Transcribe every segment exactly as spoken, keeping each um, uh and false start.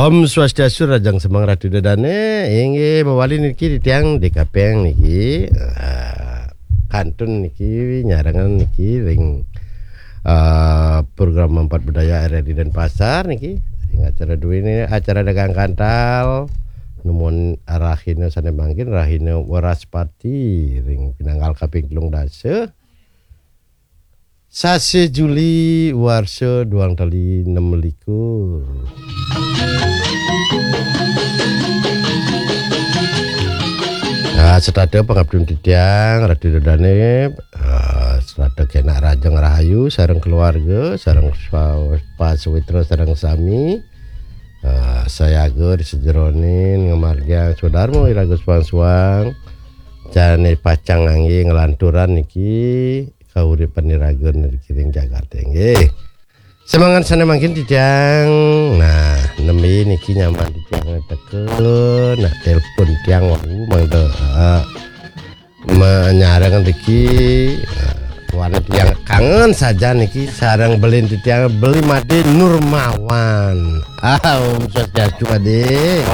Om Swastiastu, rahajeng semeng Ratu Ida Dane. Inggih, mawali niki titiang D K Peng niki. Ah, kantun niki nyarengan niki ring, ah, program Empat Budaya R R I Denpasar niki. Ring acara duene, acara Dagang Kantal. Numun rahina sane mangkin, rahina Wraspati ring pinanggal kaping telung dasa. Sasi Juli warsa duang tali nem likur. Ah, setata pangabdin titiang, Ratu Ida Dane, ah, setata kenak rahajeng rahayu, sareng keluarga, sareng swa-, pasawitra, sareng sami. Ah, sayaga di sajeroning ngamargiang swadarma iraga suang-suang. Jane pacang ngangge nglanturan niki kauripan iraga niki ring jagate nggih. Semangat sane mangkin titiang. Nah, nembe niki nyaman titiang teka, nah, telepon tiang wau mangda, eh, menyareng niki, eh, wan tiang kangen saja niki sareng belin titiang Beli Made Nurmawan. Ah, Om Swastiastu, Made.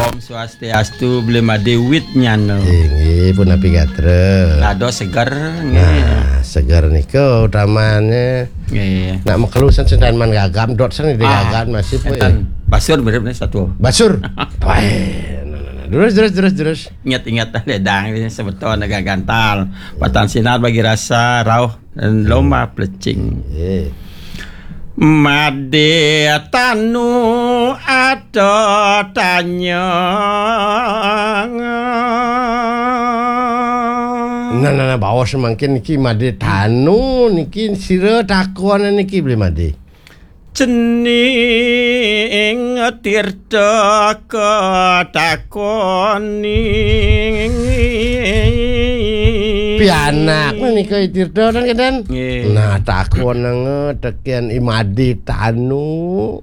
Om Swastiastu, Beli Made Widnyana. Inggih, punapi gatra? Dados seger, nggih. Nah, seger nika utamane. Nggih. Nak makelu sen sentan man gagam, dot sen di Ah, gagam masih, enten. Basur mirip nih satu. Basur. Baik. Nah, nah, nah. Terus, terus, terus, terus. Ingat-ingat ledang ini sebetulnya gagantal. Patan sinar bagi rasa rauh dan lomba plecing. Eh. Made tanu ada tanya. Nah, nah, nah, baos mangkin niki Made tanu niki sira takon niki Beli Made. Cening Tirta katakoni. Pianak menika Tirta dan kedan. Nggih. Nah, takon nang teken I Made tanu.